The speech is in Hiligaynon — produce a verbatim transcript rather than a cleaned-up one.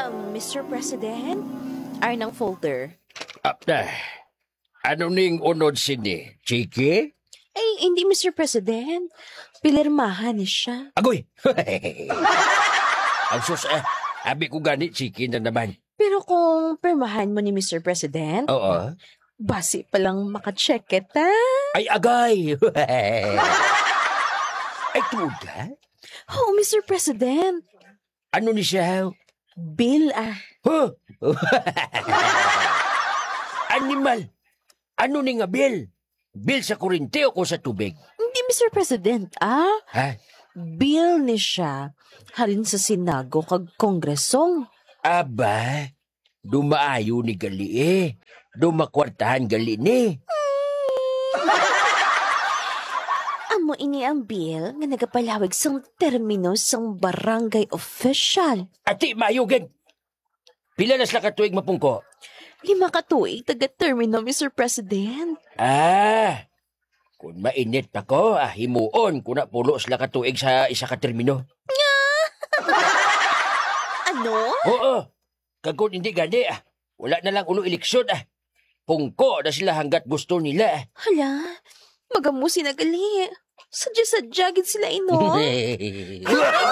Um, Mister President, arnang folder. Ah, ah, ano ning unod sini? Chiki? Ay, hindi, Mister President. Pilirmahan ni siya. Agoy! Ang sus, ah, abi ko gani, chiki na naman. Pero kung pirmahan mo ni Mister President, Oo. Basi pa lang maka-check kita. Ay, agay! Ay, tuod ka? Oo, Mister President. Ano ni siya? Bill, ah. Huh? Animal! Ano ni nga bill? Bill sa kurente o ko sa tubig? Hindi, Mister President, ah. Ha? Bill ni siya halin sa Senago kag Kongreso. Aba, dumaayo ni gali eh. Dumakwartahan gali ni. Amo ini ang bill nga nagapalawig sang termino sang barangay official. Ati, maayo gid. Pila na sila ka tuig mapungko? Lima ka tuig taga-termino, Mister President. Ah, kung mainit pa ko, ah, himuon ko na pulo sila ka tuig sa isa ka termino. Ano? Oo. Kag kung hindi gani, ah, wala na lang ulo eleksyon, ah. Pungko na sila hanggat gusto nila, ah. Hala, magamusi na gali. Sadya-sadya gid sila, ino.